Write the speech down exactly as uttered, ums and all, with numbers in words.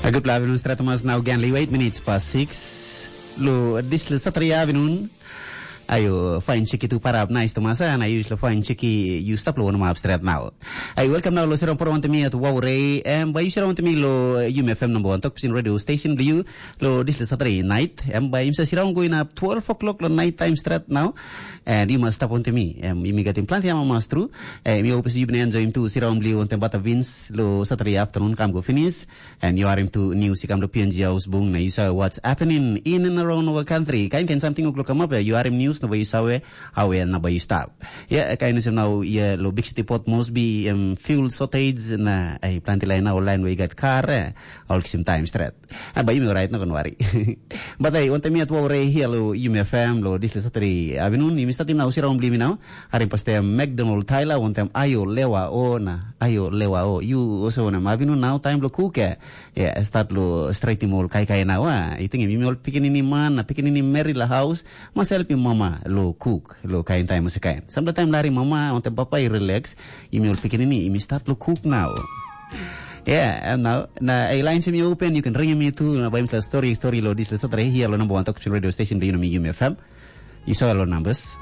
A gutpela avinun stret mas nau gen li weit minit pas six. Lo disle satri avinun. Ayo, fine chiki tu parap nice tu masa na yus lo fine chiki you stop lo one map stret now. Ayo, welcome now lo sirong poro onto me at Waurei. Em by you sirong onto me lo Yum F M number one talk pisin radio station do you lo disle satri night. Em by himself sirong going up twelve o'clock lo night time stret now. And you must stop onto me. Em you me getting plenty ama mas true. Em you hope you been enjoying too. Sirong blue onto bata Vince lo satri afternoon come go finish. And you are into news i kam to P N G Ausbung na you saw what's happening in and around our country. Kain kain something uklok come up, you are in news na you saw how na you stop. Yeah, kain news now yeah lo big city port must be um, fuel shortage na ai planti line now line we got car eh, all same time straight. Ah, ba you right no worry. But I want me at worry here lo Yum F M lo this is Saturday afternoon. You start now sirong bli now. Harim paste McDonald Tyler want them ayo lewa o na ayo lewa o. You also want them afternoon now time lo cook eh. Yeah, start lo straight mol kai kai now. Ah, you think you all picking any man, picking any merry la house, must help him mama lo cook, lo kain time must kain. Sometimes lari mama want them papa you relax, you all picking any, you start lo cook now. Yeah, and now na a line simi open, you can ring me too. Na by the story story lo this is Saturday here lo number one talk radio station do you know me Yum F M. You saw lo numbers.